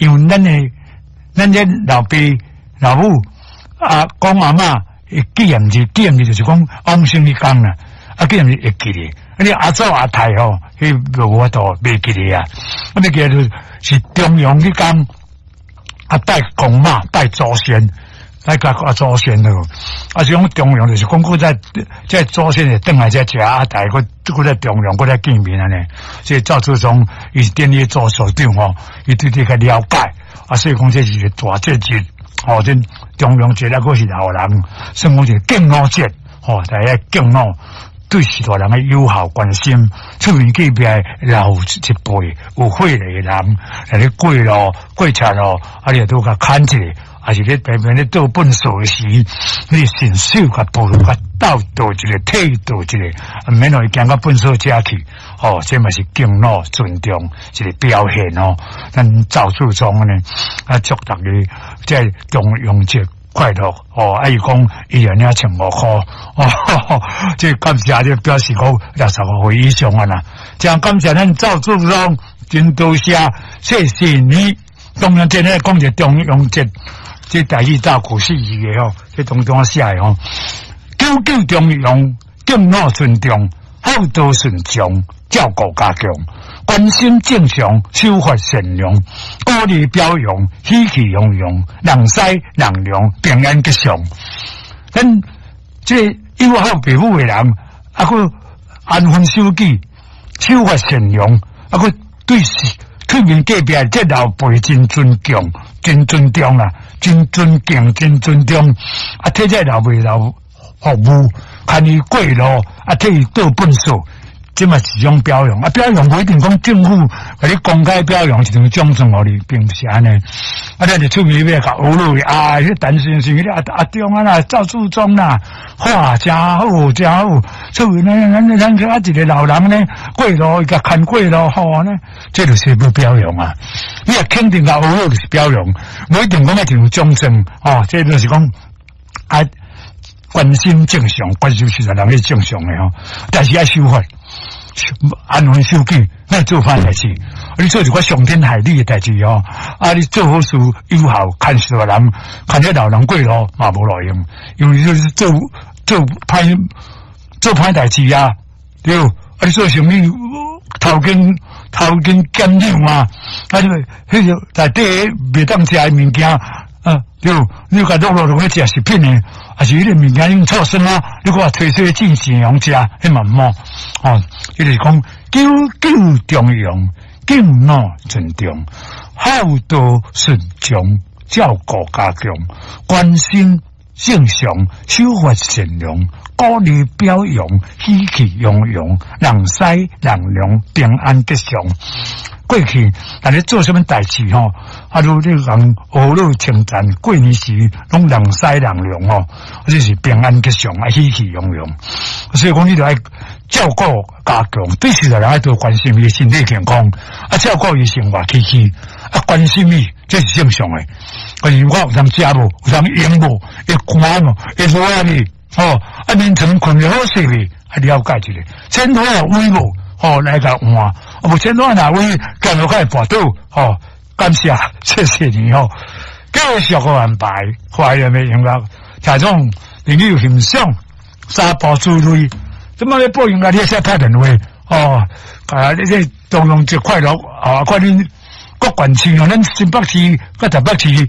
因為咱的咱這老爸老母阿公阿嬤會紀念日，紀念日就是講往生彼工啦。啊，紀念日會記得，啊你阿祖阿太吼，彼無法度袂記得啊。啊，袂記得就是重陽彼工，啊拜公媽拜祖先，拜甲阿祖先咯。啊，是講重陽就是講閣再這祖先會轉來遮食阿太，閣閣再重陽，閣再見面按呢。所以趙志忠伊是典禮做所長吼，伊對這較了解。啊，所以講這是一個大節日，吼，這重陽節啊，閣是老人，算講一個敬老節，吼，大家敬老，對序大人的友好關心，出面隔壁老一輩有歲的人，來咧過路過車路，啊，你會拄共牽一下，抑是咧平平咧倒糞掃時，你順手共扶共倒倒一下，替倒一下，毋免予伊行到糞掃遮去，吼，這嘛是敬老尊重一個表現哦。咱趙志忠呢，啊，祝逐家這重陽節快樂哦！啊，伊講伊會領1500箍哦，這感謝這表示講65歲以上啊啦，真感謝咱趙志忠，真多謝，謝謝你。重陽節咧講一個重陽節，這台語早古四字的吼，這當中寫的吼，九九重陽，敬老尊重，孝道順從，照顧家強，關心正常，守法善良，鼓勵表揚，喜氣洋洋，人師人良，平安吉祥。咱這友好父母的人，啊，閣安分守己，守法善良，啊，閣對對面隔壁這老輩真尊敬，真尊重啦，真尊敬，真尊重。啊，替這老輩老服務，牽伊過路，啊，替伊倒糞掃。這嘛是一種表揚啊！表揚無一定講政府共你公開表揚一張獎狀予你，並毋是按呢。啊，咱就出面欲共呵咾啊！彼陳先生，彼阿阿中啊啦，趙志忠啦，哇，誠好，誠好。出面呢，咱咱啊一個老人呢，過路伊共牽過路，好呢，這就是欲表揚啊！你若肯定共呵咾就是表揚，無一定講愛一張獎狀哦。這就是講啊，關心正常，關心是人咧正常的吼，但是愛守法。安分守己，莫做歹代誌。你做一寡傷天害理的代誌哦，啊！你做好事友好，牽序大人，牽這老人過路嘛無路用，因為你做做歹做歹代誌啊，對。啊！你做生意偷斤偷斤減兩啊，啊！你彼個內底袂當食的物件啊，對。你共落落落去食食品的，抑是彼个物件用臭酸啊，你閣提出進行用食，彼嘛毋好哦。伊就是講九九重陽，敬老尊重，孝道順從，照顧家強，關心正常，守法善良，鼓勵表揚，喜氣洋洋，人師人良，平安吉祥。過去，若你做啥物代誌吼，啊，如你人呵咾稱讚，過年時攏人師人良吼，這是平安吉祥啊，喜氣洋洋。所以講，你著愛照顧家強，對序大人愛多關心伊身體健康，啊，照顧伊生活起居，啊，關心伊，這是正常的。關心我有通食無，有通用無，會寒無，會熱哩，吼，啊，眠床睏得好勢未，啊，了解一下，剪拖有位無？吼，來共換，啊，無剪拖若位，行路較會跋倒，吼，感謝，謝謝你吼，繼續閣安排，懷念的音樂，聽眾朋友欣賞三步之類，這麼咧播音樂，你會使拍電話，哦，啊，你這重陽節快樂，啊，看恁各縣市哦，咱新北市佮台北市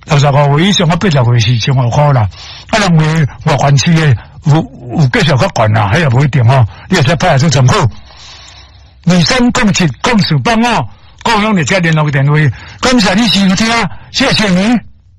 65歲以上，啊，80歲是1500箍啦，啊，人話外縣市的有有繼續較懸啦，彼也無一定吼，你會使拍來做參考。23070485，各種佇遮聯絡電話，感謝你收聽，謝謝你。